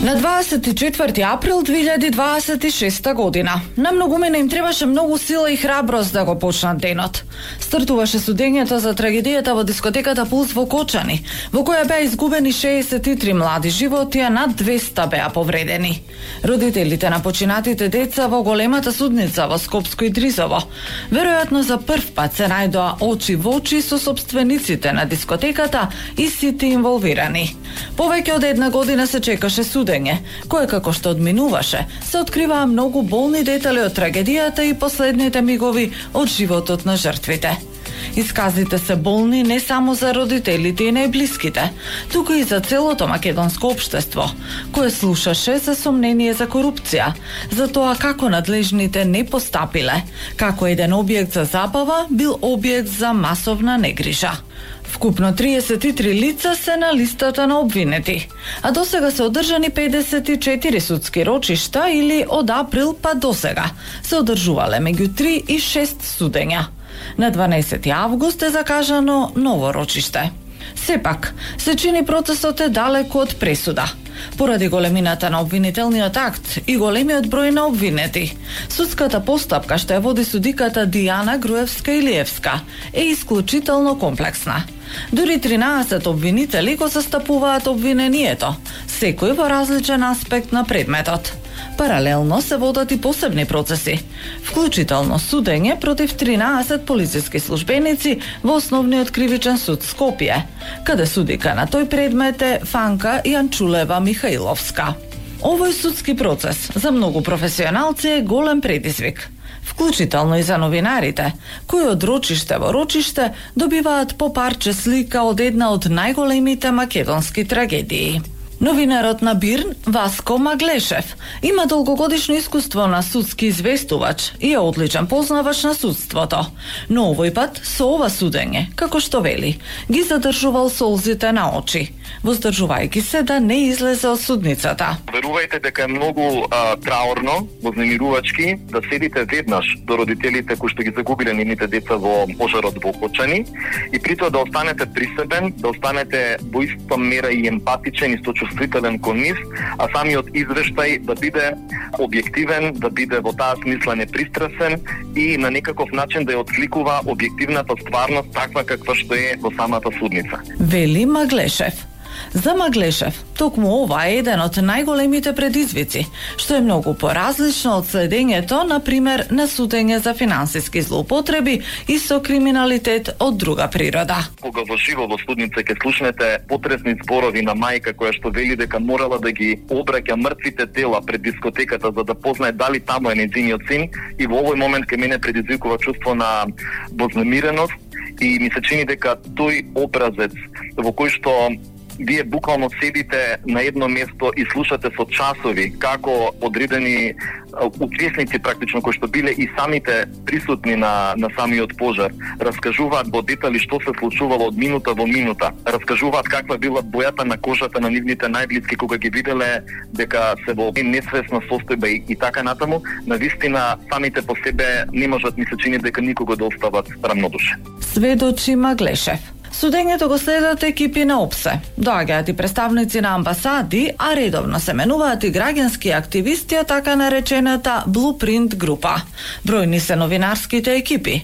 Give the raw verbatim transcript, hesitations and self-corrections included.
На дваесет и четврти април две илјади дваесет и шеста година, на многумина им требаше многу сила и храброст да го почнат денот. Стартуваше судењето за трагедијата во дискотеката Пулс во Кочани, во која беа изгубени шеесет и три млади животи, а над двеста беа повредени. Родителите на починатите деца во големата судница во Скопско и Дризово веројатно за прв пат се најдоа очи во очи со сопствениците на дискотеката и сите инволвирани. Повеќе од една година се чекаше судење, кое како што одминуваше, се откриваа многу болни детали од трагедијата и последните мигови од животот на жртвите. Исказите се болни не само за родителите и најблиските, туку и за целото македонско општество, кое слушаше за сомнение за корупција, за тоа како надлежните не постапиле, како еден објект за забава бил објект за масовна негрижа. Вкупно триесет и три лица се на листата на обвинети, а досега се одржани педесет и четири судски рочишта или од април па досега се одржувале меѓу три и шест судења. На дванаесети август е закажано ново рочиште. Сепак, се чини процесот е далеку од пресуда. Поради големината на обвинителниот акт и големиот број на обвинети, судската постапка што ја води судиката Дијана Груевска-Илиевска е исклучително комплексна. Дури тринаесет обвинители го застапуваат обвинението, секој во различен аспект на предметот. Паралелно се водат и посебни процеси, вклучително судење против тринаесет полициски службеници во Основниот кривичен суд Скопје, каде судика на тој предмет е Фанка Јанчулева Михаиловска. Овој судски процес за многу професионалци е голем предизвик, вклучително и за новинарите, кои од рочиште во рочиште добиваат по парче слика од една од најголемите македонски трагедии. Новинарот на Бирн, Васко Маглешев, има долгогодишно искуство на судски известувач и е одличен познавач на судството. Но овој пат со ова судење, како што вели, ги задржувал солзите на очи, воздржувајќи се да не излезе од судницата. Верувајте дека е многу а, траорно, вознемирувачки да седите веднаш до родителите кои што ги загубиле нивните деца во пожарот во Кочани и притоа да останете присебен, да останете во иста мера и емпатичен и сочувствителен кон нив, а самиот извештај да биде објективен, да биде во таа смисла непристрасен и на некаков начин да ја отсликува објективната стварност таква каква што е во самата судница. Вели Маглешев. За Маглешев, токму ова е еден од најголемите предизвици, што е многу поразлично од следењето, например, на судење за финансиски злоупотреби и со криминалитет од друга природа. Кога во живо во судница ќе слушнете потресни зборови на мајка која што вели дека морала да ги обраќа мртвите тела пред дискотеката за да познае дали таму е нејзиниот син, и во овој момент ке мене предизвикува чувство на вознемиреност и ми се чини дека тој образец во кој што вие буквално седите на едно место и слушате со часови како одредени учесници практично кои што биле и самите присутни на на самиот пожар раскажуваат во детали што се случувало од минута во минута, раскажуваат каква била бојата на кожата на нивните најблиски кога ги виделе дека се во несвесна состојба и, и така натаму. Навистина самите по себе не можат, ми се чини дека никого да остават рамнодушен. Сведочи Маглешев. Судењето го следат екипи на ОПСЕ. Доаѓаат и представници на амбасади, а редовно се менуваат и граѓански активисти од така наречената Blueprint група. Бројни се новинарските екипи,